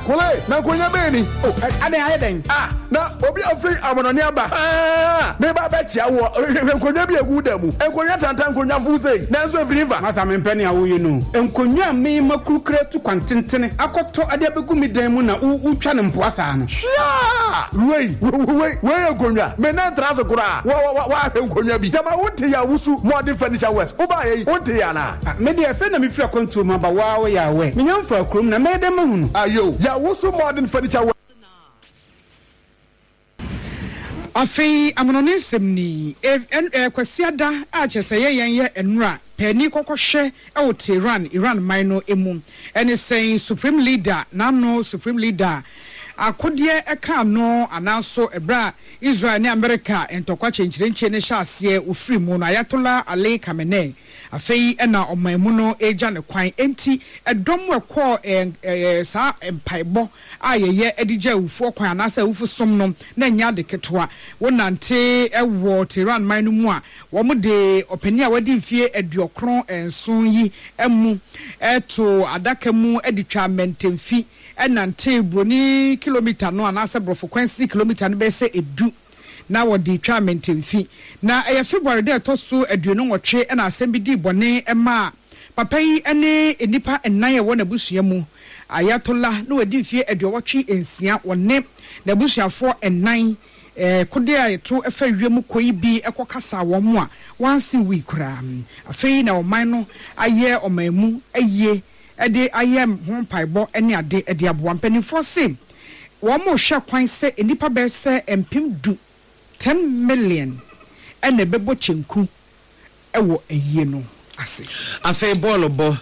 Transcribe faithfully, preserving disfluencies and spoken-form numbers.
Kole, na nkonnwa bɛyɛ ni. O, adan ayɛ dɛn? Ah, na obi afiri amanɔne aba. Ah, meba bɛkyia woɔ. Hwɛ nkonnwa bi egu da mu. Nkonnwa tanta, nkonnwa fo sei. Nanso efiri fa? Masa, mempɛ nea woyɛ no. Nkonnwa a mema kurukura tu kwan tentene akɔtɔ ade abɛgu me dan mu na wotwa ne mpoa saa no. Hwea! Wei, wei, wei yɛ nkonnwa. Me nan tra so koraa. Wa wa wa wahwɛ nkonnwa bi. Gyama wonte yɛ Awusu Modern Furniture West. Wobaayɛ yi, wonte yɛ anaa? Me deɛ, afei na mefiri akwantuo mu aba. Waa, woyɛ awɛ. Menya mfa kurom na mɛyɛ dɛn mahu no? Ayo, Yɛawosu Modern Furniture West. Afei amanɔne nsɛm ni. Kwasiada a kyerɛ sɛ yɛ yɛn yɛ nnura paani kɔkɔhwɛ wɔ Tehran, Iran man no mu, ɛne sɛn Supreme Leader n'ano, Supreme Leader akodeɛ ɛka ano anaaso ɛberɛ a Israel ne America ntɔkwa kyɛnkyerɛnkyɛn ne hyɛ aseɛ ofiri mu no, Ayatollah Ali Khamenei, afei ɛna ɔman mu no egya ne kwan. Enti ɛdɔm ɛkɔɔ ɛɛ ɛɛ saa mpaebɔ a yɛyɛ de gya awufoɔ kwan anaasɛ awufo som no na ɛnyɛ ade ketewa. Wɔnante ɛwɔ Tehran man no mu a, wɔn de ɔpanin a wadi mfie aduɔkron nson yi mu ɛto adaka mu de twa mmɛntɛmfi ɛnante buroni kilomita no anaasɛ borɔfo kwansi kilomita no bɛyɛ sɛ edu na wɔde twa mmɛntɛmfi. Na ɛyɛ February dɛ ɛtɔ so aduonu nwɔtwe ɛna asɛm bi di bɔne ɛma papa yi ne nnipa nnan a ɛwɔ n'abusua mu. Ayatollah na wadi mfie aduɔwɔtwe nsia, wɔne n'abusuafoɔ nnan ɛɛ kode a yɛto ɛfa wiem kɔ yi bi ɛkɔ kasa wɔn mu a wɔansi wui koraa. Afei na ɔman no ayɛ ɔman mu ayie ɛde ayɛ ho mpaebɔ ne ade ɛde aboa. Mpanimfoɔ se wɔn mo hwɛ kwan sɛ nnipa bɛyɛ sɛ mpem du, ten million, ɛna ɛbɛbɔ kyenku ɛwɔ ayie no ase. Afei bɔɔlo bɔ.